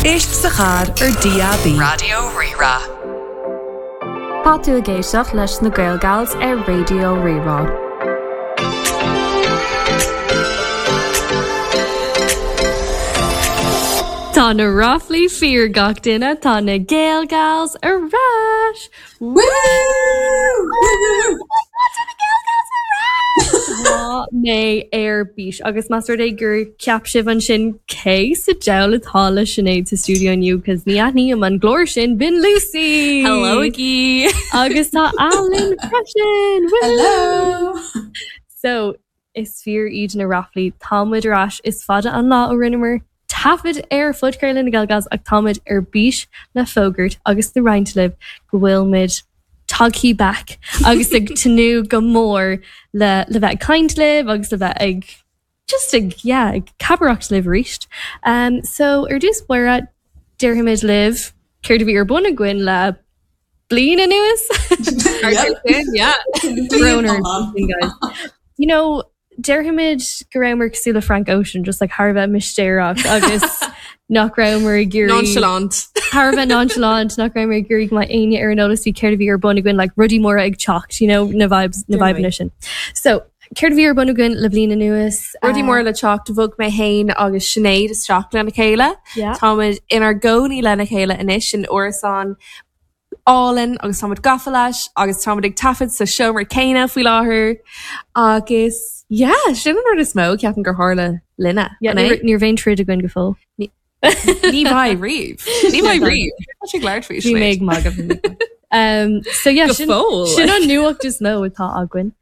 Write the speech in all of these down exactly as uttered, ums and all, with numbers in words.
Éist sa charr ar DAB. Raidió Rí-Rá. Tá tú ag éisteacht leis na Gael Gals ar Raidió Rí-Rá. Tá na ráflaí fíor gach duine tá na Gael Gals ar ais! Woo! Tá mé ar bís agus más rud é gur cheap sibh ansin cé sa diabhal atá le Sinéad sa stiúideo inniu cos ní aithním an glór sin b'in Lucy! Hello agaí! Agus tá Alan freisin! Hello! So is fíor iad na ráflaí tá muid ar ais is fada an lá ó rinneamar taifead ar phodchraoladh na Gael Gals ach táimid ar bís le fógairt agus le roinnt libh go bhfuil muid tagtha back agus ag tnúth go mór le le bheith ag caint libh agus le bheith ag just ag yeah, ag cabaireacht libh arís. Um, so ar dtús báire déarfaimid libh céard a bhí ar bun againn le bliain anuas. Yeah. Brón orainn, guys. You know, déarfaimid go rabhamar cosúil le Frank Ocean, just like thar a bheith mistéireach agus nach rabhamar ag iarraidh Nonchalant. thar a bheith nonchalant, nach rabhamar ag iarraidh go mbeadh éinne ar an eolas faoi céard a bhí ar bun againn, like rudaí móra ag teacht, you know, na vibes, na vibeanna sin. So, céard a bhí ar bun againn le bliain anuas? Rudaí móra le teacht bhog mé féin agus Sinéad isteach lena chéile. Yeah. Táimid inár gcónaí lena chéile anois in árasán álainn agus táimid gafa leis agus táimid ag taifead sa seomra céanna faoi láthair agus yeah, sin an rud is mó ceapaim gur tharla linne. Yeah, an é? níor níor bhein troid againn go fóill. Ní bheidh riamh. Ní bheidh riamh. Tá sé glad faoi Bhí mé ag magadh. Um, so yeah, Go sin, fóill. sin an nuacht is mó atá againn.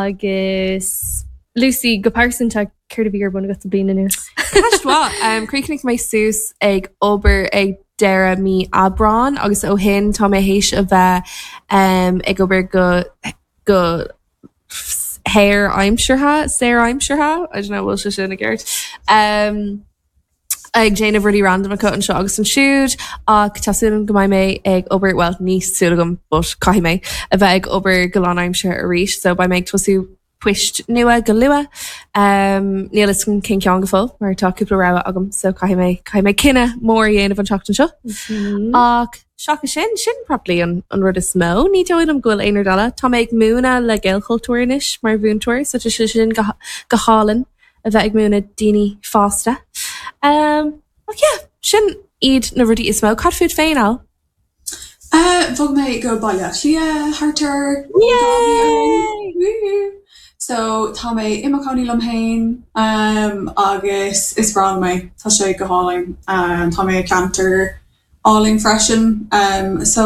Agus Lucy, go pearsanta céard a bhí ar bun agat sa bliain anuas? Ceist mhaith. Um, Chríochnaigh mé suas ag obair ag deireadh mí Aibreán agus ó shin tá mé théis a bheith um, ag obair go go hair aimseartha, saor aimseartha, I don't know bhfuil sé sin i gceart. Um, ag déanamh rudaí random acu anseo agus ansiúd ach tá súil agam go mbeidh mé ag obair well ní súil agam but caithfidh mé a bheith ag obair go lánaimseartha arís, so beidh mé ag tosú poist nua go luath. Um, níl a fhios agam cén ceann go fóill mar tá cúpla rogha agam so caithfidh mé caithfidh mé cinneadh mór a dhéanamh an tseachtain seo. Ach seachas sin sin probably an, an rud is mó ní dóigh liom go bhfuil aon rud eile. Tá mé ag múineadh le Gaelchultúr anois mar mhúinteoir, so tá sé sin go, go hálainn a bheith ag múineadh daoine fásta. Um, ach yeah, sin iad na rudaí is mó. Cad fút féin Al? Uh, bhog mé go Baile Átha Cliath thart ar Yay! So tá mé i mo chónaí liom féin um, agus is breá liom é tá sé go hálainn um, tá mé i ceantar álainn freisin um, so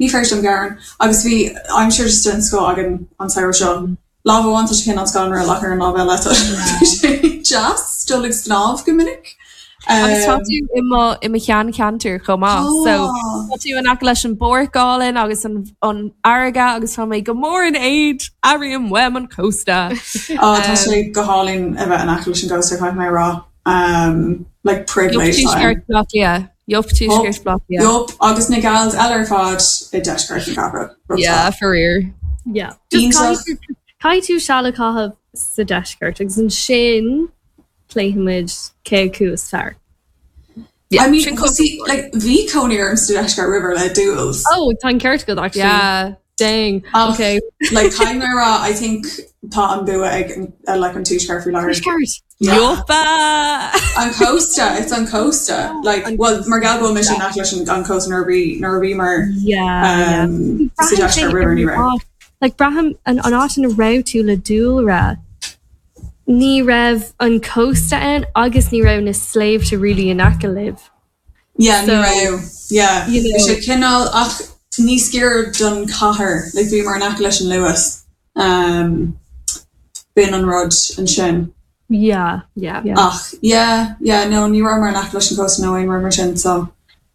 ní féidir liom gearán agus bhí aimsir just den scoth againn an samhradh seo. Lá amháin tá sé cineál scanrúil ach ar an lámh eile tá sé deas dul ag snámh go minic. Agus tá Um, tú i mo i mo sheancheantar chomh maith. So Tá. tá tú in aice leis an bpáirc álainn agus an an fharraige agus tá mé go mór in éad airím uaim an cósta. Á tá sé go hálainn a bheith in aice leis an gcósta caithfidh mé a rá. Um, like privilege Yup time. tuaisceart Bhaile Átha Cliath. Yup tuaisceart Bhaile Átha Cliath. Yup, agus na gals eile ar fad i deisceart na cathrach. Yeah, faraor. Yeah. Just Iontach. caithfidh tú- caithfidh tú seal a chaitheamh sa deisceart agus ansin pléifimid cé acu is fearr. Yeah, I mean, sin cósta. see, like bhí cónaí orm sa deisceart roimhe le Dúils. Oh, tá an ceart agat actually. Yeah. Dang. Ach, Okay. Like caithfidh mé a rá, I think tá an bua ag uh, like an tuaisceart faoi láthair. Tuaisceart. Yeah. Yuppa! An cósta, it's an cósta. Like, well, mar gheall go bhfuil mise in aice leis an an cósta nuair a bhí nuair a bhí mar Yeah. um, sa yeah. deisceart roimhe ní raibh. Like braithim an an áit ina raibh tú le dúlra. Ní raibh an cósta ann agus ní raibh na sléibhte really in aice libh. Yeah, ní So, raibh. Yeah. you Bhí know- sé cineál ach níos giorra don chathair, like bhí mar in aice leis an Luas. Um, b'in an rud ansin. Yeah. Yeah. Yeah. Ach, yeah, yeah, no, ní raibh mar in aice leis an cósta nó aon rud mar sin, so.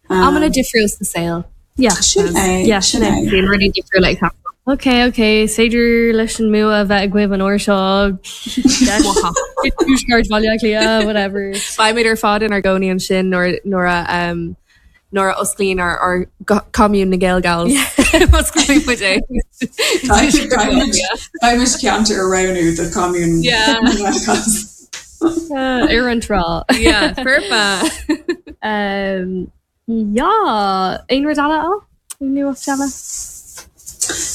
Um, Amanna difriúil sa saol. Yeah. Sin é, Yeah, sin é. Bíonn rudaí difriúil ag teacht. Okay, okay, is féidir leis an mbua a bheith agaibh an uair seo. Tuaisceart Bhaile Átha Cliath, whatever. Beimid ar fad inár gcónaí ansin nuair nuair a um, nuair a osclaíonn ár ár commune na Gael Gals. Osclaíonn muid é. Beimid ceantar a roghnú do commune. Yeah. Uh, ar an trá. Yeah, foirfe. Um, yeah, aon rud eile á? Nuacht eile?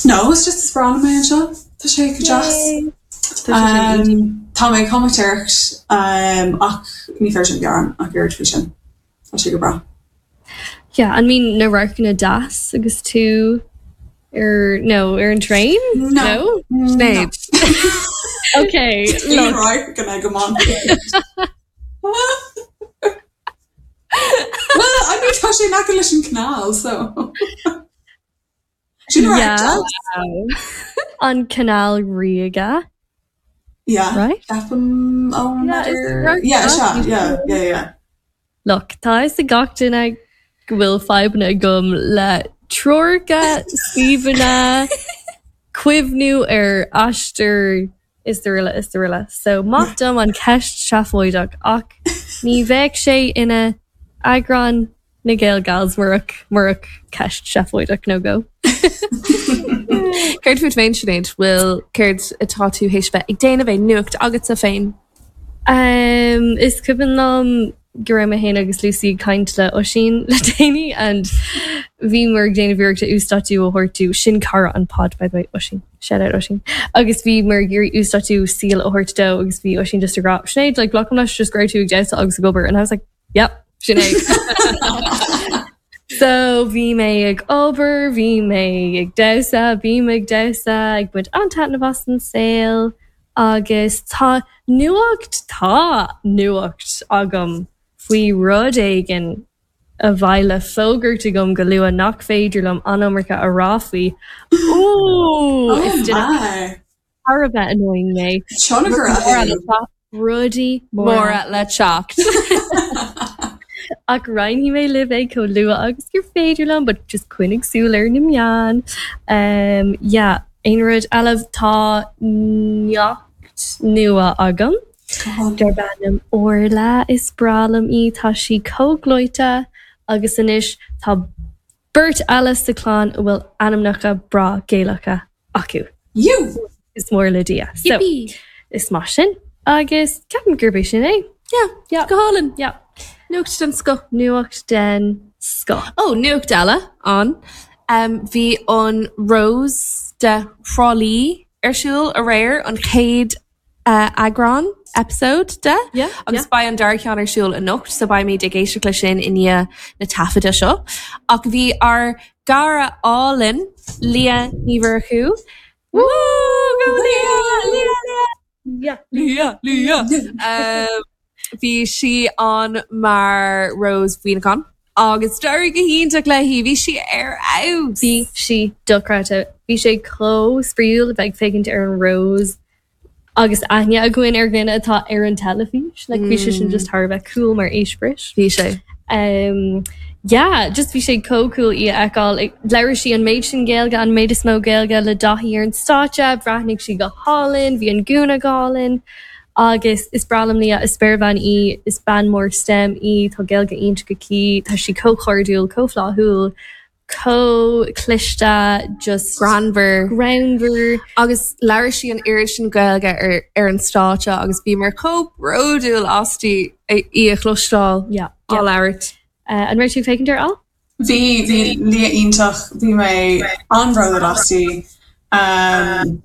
No, it's just is breá liom é anseo. Tá sé go deas. Um, Tá mé comaitéireacht um, ach ní féidir liom gearán ach oiread faoi sin. Tá sé go breá. Yeah, an mbíonn na radharcanna deas agus tú ar no ar an train? No. No? Sinéad. Okay, look. Right gonna go on. Well, I mean tá sé in aice leis an canal, so. Sin Yeah. An Canal Ríoga, Yeah. right? Ceapaim ó Yeah, is right. Yeah, sea, yeah, yeah, yeah. Look, tá a fhios ag gach duine go bhfuil fadhbanna agam le treoracha, suíomhanna, cuimhniú ar aistear is araile is araile. So maith dom an ceist seafóideach ach ní bheadh sé ina eagrán na Gael Gals murach murach ceist seafóideach nó go. Céard fút féin Sinéad bhfuil céard atá tú théis bheith ag déanamh aon nuacht agatsa féin. Um, is cuimhin liom go raibh mé féin agus Lucy ag caint le Oisín le déanaí and bhí muid ag déanamh iarracht uasdátú a thabhairt sin cara an pod by the way Oisín shout out Oisín agus bhí muid ag iarraidh uasdátú saoil a thabhairt dó agus bhí Oisín just ag rá Sinéad like glacaim leis just go raibh tú ag damhsa agus ag obair and I was like yep Sinéad So bhí mé ag obair, bhí mé ag damhsa, bhí mé ag damhsa ag baint an-taitneamh as an saol agus tá nuacht tá nuacht agam faoi rud éigin a bheidh le fógairt agam go luath nach féidir liom an iomarca a rá faoi. Ooh, Oh is duine my. thar a bheith annoying mé. Tionchar a Rudaí móra Móra le teacht. Ach roinnfidh mé libh é chomh luath agus gur féidir liom, but just coinnigh súil ar na meáin. Um, yeah, aon rud eile tá neacht nua agam. Darb ainm Orla is breá liom í tá sí chomh gleoite agus anois tá beirt eile sa chlann a bhfuil ainmneacha breá Gaelacha acu. You! Is mór le Dia. So, Yippee! is maith sin agus ceapaim gurb é sin é. Yeah, Yeah. go hálainn. Yeah. Nuacht den scoth. Nuacht den scoth. Ó nuacht eile an. Um, bhí an Rose de Thrá Lí ar siúl aréir an chéad uh, eagrán episode de Yeah, agus beidh an dara ceann ar siúl anocht so beimid ag éisteacht le sin i ndiaidh na taifeadta seo. Ach bhí ár gcara álainn Lia Ní Mhurchú. Woo, go Lia, Lia, Lia. Yeah. Lia, Lia. Um, Bhí sí an mar Rose Mhuineacháin agus d'éirigh go hiontach léi bhí sí ar fheabhas. Bhí sí dochreidte. Bhí sé chomh spraíúil a bheith ag féachaint ar an Rose agus aithne againn ar dhuine atá ar an teilifís, like bhí sé sin just thar a bheith cool mar eispéireas. Bhí sé. Um, yeah, just bhí sé chomh cool í a fheiceáil. Labhair sí an méid sin Gaeilge an méid is mó Gaeilge le Daithí ar an stáitse, bhreathnaigh sí go hálainn, bhí an gúna go hálainn. Agus is breá liom Lia is spéirbhean í is bean mór STEM í tá Gaeilge iontach aici, tá sí chomh cairdiúil, chomh flaithiúil, chomh cliste, just Greannmhar. greannmhar. Agus labhair sí an oiread sin Gaeilge ar, ar an stáitse agus bhí muid chomh bródúil aisti í a chloisteáil Yeah, á yeah. labhairt. Uh, an raibh tú ag féachaint air Al? Bhí bhí Lia iontach, bhí mé an-bhródúil aisti um,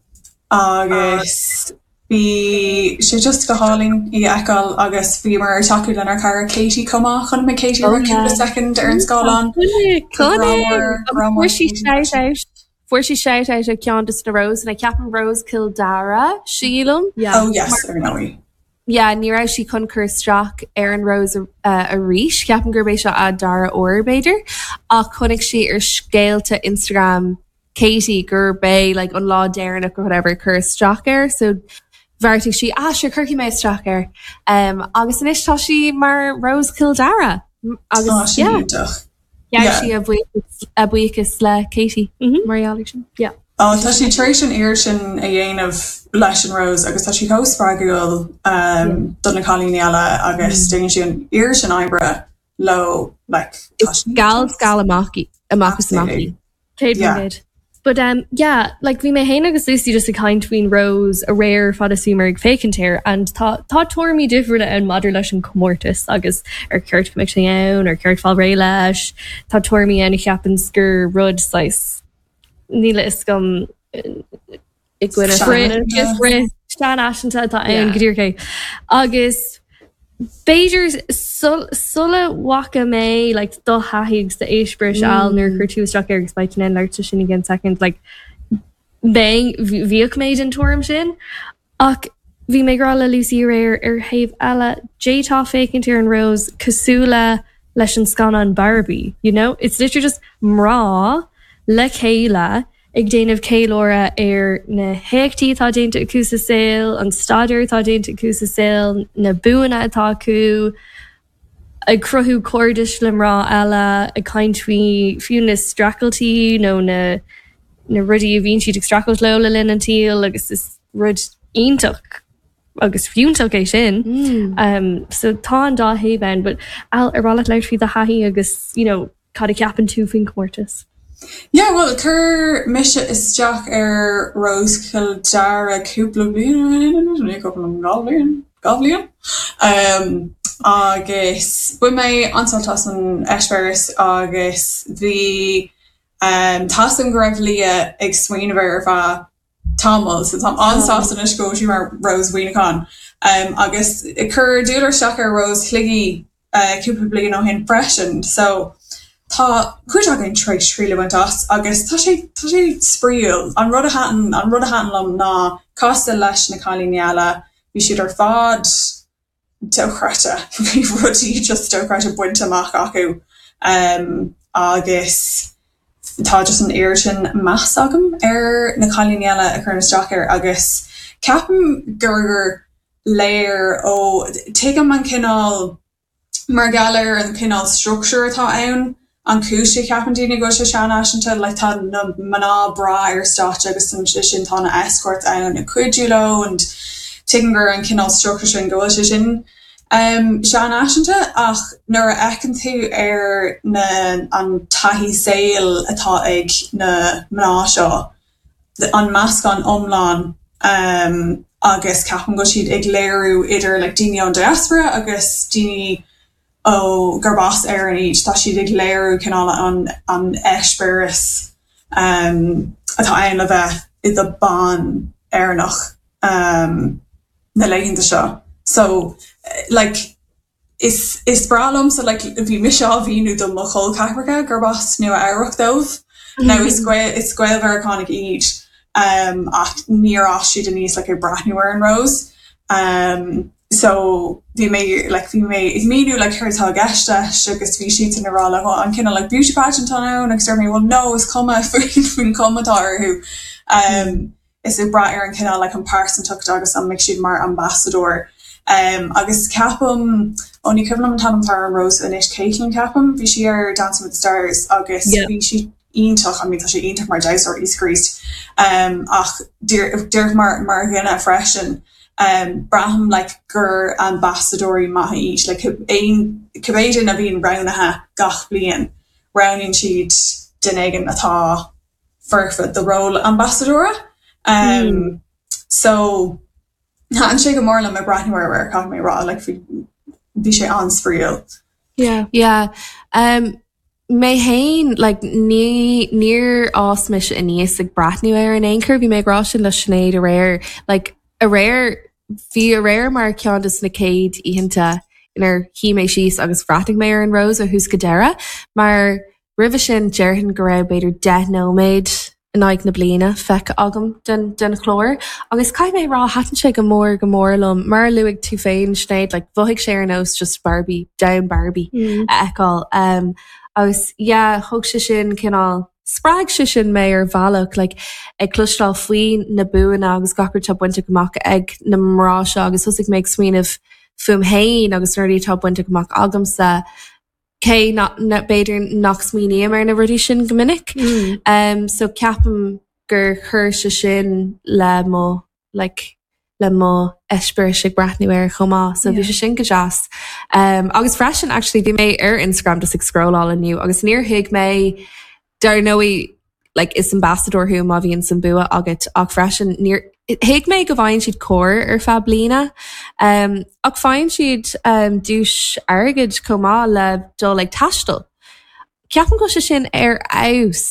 agus bhí sé just go hálainn í a fheiceáil agus bhí muid ag tacú lenár cara Katie chomh maith chonaic mé Katie Oh, ar yeah. cúpla second ar an scáileán. Fuair sí shout out. Fuair sí shout out ag ceann de na Rose na ceapaim Rose Cill Dara sílim. Yeah. Oh yes, ar ndóigh. Yeah, ní raibh sí chun cur isteach ar an Rose uh, arís, ceapaim gurb é seo a dara huair b'fhéidir, ach chonaic sí ar scéalta Instagram Katie gur bé like, an lá deireanach or whatever cur isteach air, so bheartaigh sí ah sure cuirfidh mé isteach air. Um, agus anois tá sí mar Rose Cill Dara. Agus Oh, sin yeah, iontach. yeah, Yeah. sí a bhuíochas a buíochas le Katie Mhm. mar gheall air sin. Oh, tá sí tar éis an oiread sin a dhéanamh leis an Rose agus tá sí chomh spreagúil um, do na cailíní eile agus déanann sí an oiread sin oibre leo like, tá sí Gal gal amach í amach is amach í. Céad Yeah. faoin gcéad. But um, yeah, like bhí mé féin agus Lucy just ag caint faoin Rose aréir fad is bhíomar ag féachaint air and tá tá tuairimí difriúla ann maidir leis an comórtas agus ar cheart go mbeadh sé ann ar cheart fáil réidh leis tá tuairimí ann a cheapann gur rud saghas níl a fhios agam I gcoinne seanfhaiseanta atá ann go díreach é. Agus b'fhéidir sula bhfaca mé like do thaithí agus d'eispéireas mm. nuair chuir tú isteach air agus beidh tú labhairt sin again second like bhíodh mé den tuairim sin ach bhí mé ag rá le Lucy aréir ar thaobh eile d'fhéadfá féachaint ar an Rose cosúil le leis an scannán Barbie you know it's literally just mná le chéile ag déanamh ceiliúradh ar na héachtaí atá déanta acu sa saol, an staidéar atá déanta acu sa saol, na buanna atá acu, ag cruthú cairdis le mná eile, ag caint faoi fiú na streachailtí nó na na rudaí a bhíonn siad ag streachailt leo le linn an tsaoil agus is rud iontach agus fiúntach é sin. Mm. Um, so tá an dá thaobh ann, but ar mhaith leat labhairt faoi do thaithí agus you know, cad a cheapann tú faoin comórtas. Yeah, well chuir mise isteach ar Rose Chill Dara cúpla bliain bliain dhá bhliain um, agus bhain mé an-sult as an eispéireas agus bhí um, tá a fhios agam go raibh Leah ag smaoineamh ar feadh tamall so tá an-sásta anois go sí mar Rose Mhuineacháin um, agus chuir Dúlra isteach ar Rose Shligigh uh, cúpla bliain ó shin freisin so tá cuid againn tar éis triail a bhaint as agus tá sé tá sé spraíúil an rud a thaitin an rud a thaitin liom ná cosúil leis na cailíní eile bhí siad ar fad dochreidte bhí rudaí just dochreidte bainte amach acu um, agus tá just an oiread sin meas agam ar na cailíní eile a chuireann isteach air agus ceapaim gur léir ó tuigim an cineál mar gheall ar an cineál struchtúr atá ann an chúis a cheapann daoine go bhfuil sé seanfhaiseanta le tá na mná breá ar stáitse agus sin tá na escorts ann ag cuidiú leo and tuigim gur an cineál struchtúr sin go bhfuil sé sin um, seanfhaiseanta ach nuair a fhéachann tú ar na an taithí saoil atá ag na mná seo an meascán iomlán um, agus ceapaim go siad ag léiriú idir like, daoine ón diaspora agus daoine ó gurb as Éirinn iad tá siad ag léiriú cineál an an eispéireas um, atá ann le bheith i do bhean Éireannach um, na laethanta seo. So like is is breá liom so like bhí mise á mhíniú do mo chol ceathracha gurb as Nua-Eabhrac dóibh. Now is Gael is Gael-Mheiriceánaigh iad um, ach níor fhás siad aníos like, ag breathnú ar an Rose. Um, so bhí mé like, bhí mé ag míniú like, céard atá i gceist leis agus bhí siad ina rá le an cineál like, beauty pageant ann agus dúirt mé well no is cuma faoin faoin cuma atá orthu. Um, is ag brath ar an cineál like, an pearsantacht agus an mbeidh siad mar ambassador. Um, agus ceapaim ó ní cuimhin liom an t-ainm atá ar an Rose anois Caitlin ceapaim, bhí sí ar Dancing with the Stars agus Yeah. bhí sí iontach I mean, tá sé iontach mar damhsóir East um, ach díreach mar mar dhuine freisin um, braithim like, gur ambassadóirí maithe iad like, aon cibé duine a bhíonn roghnaithe gach bliain roghnaíonn siad duine éigin atá foirfe do ról ambassadóra. Um, mm. So thaitin sé go mór liom ag breathnú ar ar caithfidh mé rá like, bhí bhí sé an-spraíúil. Yeah. Yeah. Um, mé féin like, ní níor fhás mise aníos ag breathnú ar in aon chor bhí mé ag rá sin le Sinéad aréir like, aréir bhí aréir mar ceann de na céad oícheanta inar shuigh mé síos agus bhreathnaigh mé ar an Rose ó thús go deireadh, mar roimhe sin déarfainn go raibh b'fhéidir deich nóiméad in aghaidh na bliana feicthe agam den, den chlár. Agus caithfidh mé rá thaitin sé go mór go mór liom mar a luaigh tú féin Sinéad, like, mhothaigh sé ar nós just Barbie, down Barbie Mm. a fheiceáil. Um, agus yeah, thug sé sin cineál spreag sé sin mé ar bhealach like, ag cloisteáil faoi na buanna agus gach rud atá bainte amach ag na mná seo agus thosaigh mé ag smaoineamh fúm féin agus na rudaí atá bainte amach agamsa cé na, na, b'fhéidir nach smaoiním ar na rudaí sin go minic. Mm. Um, so ceapaim gur chuir sé sin le mo like, le mo eispéireas ag breathnú air chomh maith, so bhí Yeah. sé sin go deas. Um, agus freisin actually bhí mé ar Instagram just ag scrolláil inniu agus níor thuig mé dar ndóigh like is ambassador thú má bhíonn an bua agat ach freisin níor thuig mé go bhfaigheann siad cóir ar feadh bliana um, ach faigheann siad um, duais airgid chomh maith le dul ag taisteal. Ceapaim go sé sin ar fheabhas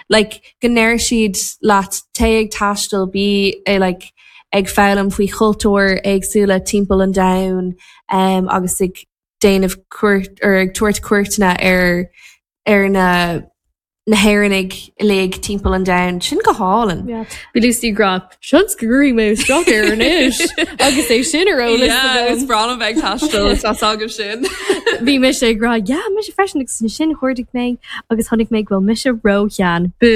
like go ndeir siad leat téigh ag taisteal bí é like ag foghlaim faoi chultúir éagsúla timpeall an domhain um, agus ag déanamh cuairt or ag tabhairt cuairteanna ar ar na na hÉireannaigh uilig timpeall an domhain sin go hálainn. Bhí Lucy ag rá seans go gcuirfidh mé isteach air anois agus é sin ar eolas is breá liom bheith ag taisteal tá agam sin. Bhí mise ag rá yeah mise freisin agus sin chuardaigh mé agus chonaic mé go bhfuil mise róshean. Bú.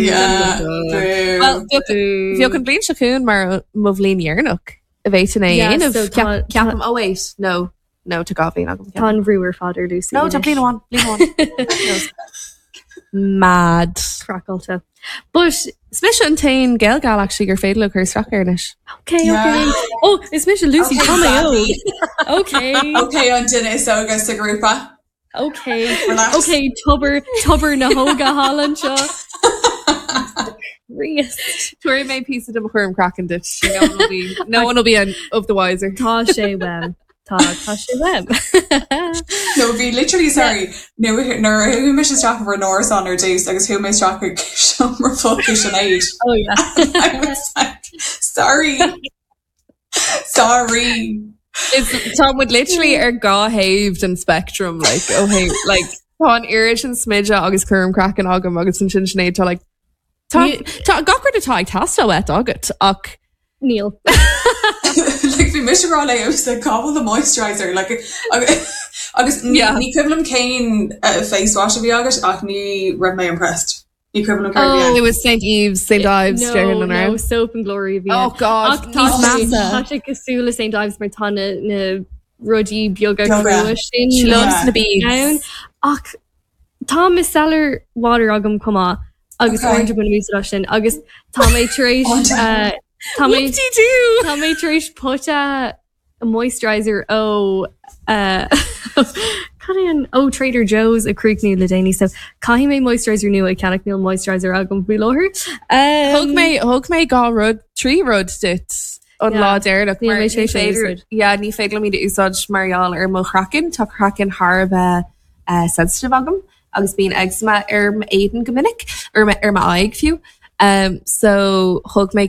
Yeah, boo. Well, bhí an bhliain seo chugainn mar mo bhliain dheireanach a bheith in é Yeah, dhéanamh. so tá- Ceapaim oh wait, no no tá dhá bhliain agam. Tá an brú ar fad ar Lucy. No, tá anois. bliain amháin, bliain amháin. Mad. Craiceáilte. But Is mise an t-aon GaelGal actually gur féidir le cur isteach air anois. okay, okay. Yeah. Oh, is mise Lucy Okay, Tá mé Savvy. óg. Okay. Okay, an duine is óige sa ghrúpa. Okay. Relax. Okay, tobar tobar na hóga hálan seo. Chríost. Tabharfaidh mé píosa de mo chúram craicinn duit. No one will be, no one will be an, of the wiser. Tá sé uaim. Tá tá sé uaim. No, bhí literally sorry. No, nuair a chuaigh mise isteach ar an árasán ar dtús agus chuaigh mé isteach ag seomra folctha Sinéad. Oh yeah. I was like, sorry. Sorry. It's tá muid literally ar dhá thaobh den spectrum like oh hey like tá an oiread sin smideadh agus cúram craicinn agam agus ansin Sinéad tá like tá tá gach rud atá ag teastáil uait agat ach Níl. like bhí mise rá le like cá bhfuil the moisturizer like agus agus ní Yeah. ní cuimhin liom cén uh, face wash a bhí agat ach ní raibh mé impressed. Ní cuimhin liom céard a bhí it was St. Ives St. Ives No, déarfainn an no, raibh. soap and glory bhí. Oh god Ach tá níos sé measa. tá sé cosúil le St. Ives mar tá na na rudaí beaga Beaga. crua sin She loves Yeah. na beads. ann. Ach tá micellar water agam chomh maith agus Okay. uaireanta bainim úsáid as sin agus tá mé tar éis Uaireanta. uh, tá mé Whoop-de-doo. Tá mé tar éis pota moisturizer ó uh, cad é an ó Trader Joe's a chríochnú le déanaí so caithfidh mé moisturizer nua a cheannach níl moisturizer agam faoi láthair. Um, Thug mé thug mé dhá rud trí rud duit an Yeah. lá deireanach Níl mar mé ní sé sin féidir- úsáid. Yeah, ní féidir liom iad a úsáid mar gheall ar mo chraiceann tá craiceann thar a bheith uh, sensitive agam agus bíonn eczema ar m'éadan go minic ar ar m'aghaidh fiú. Um, so thug mé